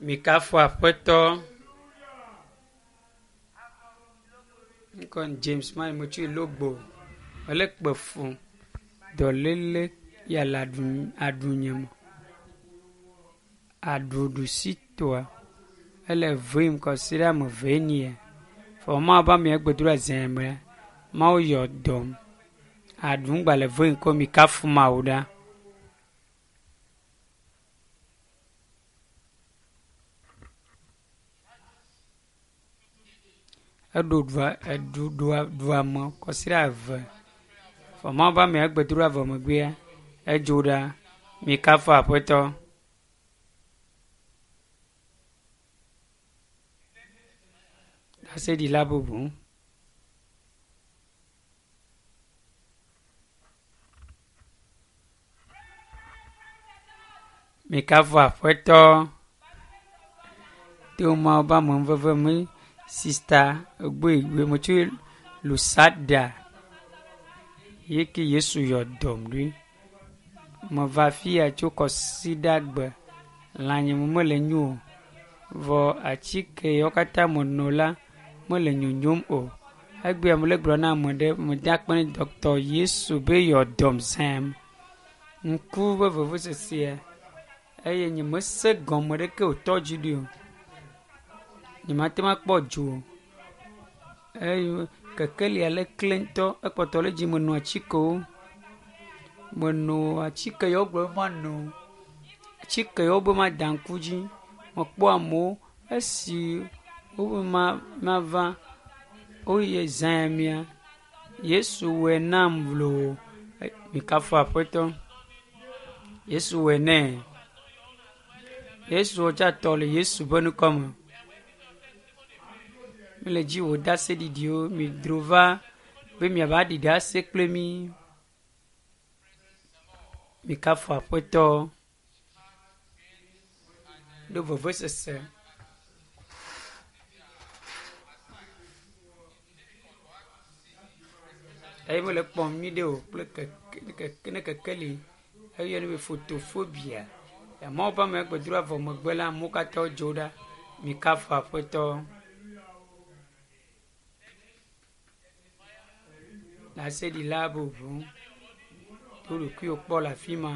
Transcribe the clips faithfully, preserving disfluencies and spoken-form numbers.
Mikafu aƒetɔ. Ŋkɔ James ma metso Logbo. Mele kpe fu dɔléle ya le aɖu aɖunye me. Aɖu ɖusitɔa ele vem kɔsiɖa ame eve nia. Vɔ Mawu be ame gbedoɖa zã me Mawu yɔ dɔm. Aɖu ŋgba le vem ko mikafu Mawu ɖa. Eɖo ɖua eɖu ɖua ɖua me kɔsiɖa eve. Vɔ Mawu be amea gbedoɖa vɔ megbea edzo ɖa. Mikafu aƒetɔ. Ɖaseɖila bubu. Mikafu aƒetɔ. To Mawu be amenuveve me sista Ogboigbe metso Lusada yi ke Yesu yɔ dɔm ɖo. Meva afi ya tso kɔsiɖagbe. Lãnye me mele nyo o. Vɔ atike yawo katã meno la mele nyonyom o. Egbea mele gblɔ na ame ɖe meda akpe ne dɔkita Yesu be yɔ dɔm zãm. Ŋku be vevesesea eye nyemese gɔme ɖeke wòtɔ dzi ɖi o. Nyemate ŋu akpɔ dzo o. Eye kekelia le kle ŋutɔ ekpɔtɔ le dzi meno atikewo. Meno atike yawo gblɔ be mano. Atike yawo be mada ŋku dzi. Mekpɔ amewo esi wobe ma mava woye zã ya mea Yesu wɔe nam loo. Mikafu aƒetɔ. Yesu wɔe nɛ. Yesu tsa tɔ le Yesu ƒe ŋkɔ me. Mele dzi wò ɖaseɖiɖiwo midro va be miava ɖi ɖase kple mí. Mikafu aƒetɔ. Ɖo vevesese. Eye mele kpɔm nyuiɖe o kple keke keke ne kekeli eyɔnɛ be fotofobia. Mawu ƒe ame gbedoɖa vɔ megbe la amewo katã wodzo ɖa. Mikafu aƒetɔ. Ɖaseɖila bubu. Do ɖokuiwò kpɔ le afi ma.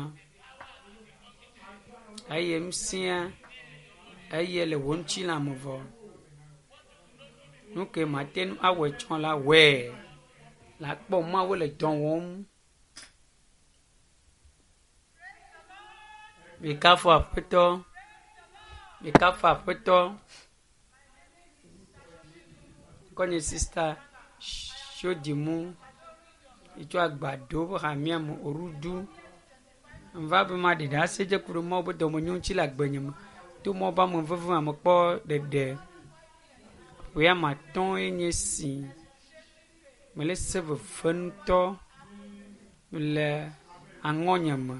Eye ŋusẽa eye le wò ŋutilã me vɔ. Nu ke mate ŋu awɔe tsɔ la wɔe. La kpɔ Mawu le dɔ wɔm. Mikafu aƒetɔ. Mikafu aƒetɔ. Ŋkɔnye sista Shodimu etso agbado ƒe hamea me Orudu. Mva be maɖi ɖase dze ku ɖe Mawu ƒe dɔmenyo ŋuti le agbenye me. To Mawu ƒe ameveve me mekpɔ ɖeɖe. Ƒe ame atɔ̃e nye esi. Mele se veve ŋutɔ le aŋɔnye me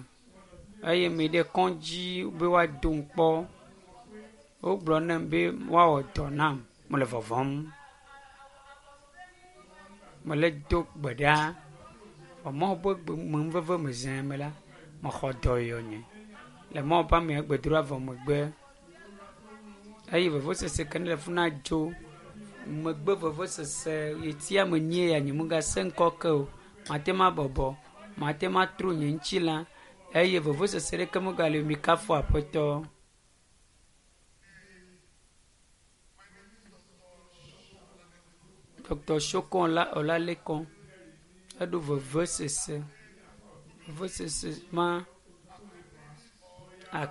eye meyi ɖe kɔdzi be woadom kpɔ. Wogblɔ nam be woawɔ dɔ nam. Mele vɔvɔm. Mele do gbe ɖa. Vɔ Mawu ƒe amenuveve me zã me la, mexɔ dɔyɔnye le Mawu ƒe amea gbedoɖa vɔ megbe. Eye vevesese ke ne le fi na dzo. Megbe vevesese ɣleti ame enyi ya nyemegase ŋkɔ ke o. Mate ŋu abɔbɔ, mate ŋu atro nye ŋutilã eye vevesese ɖeke megali o. Mikafu aƒetɔ. Dr. Shokon Olalekon eɖo vevesese. Vevesese ma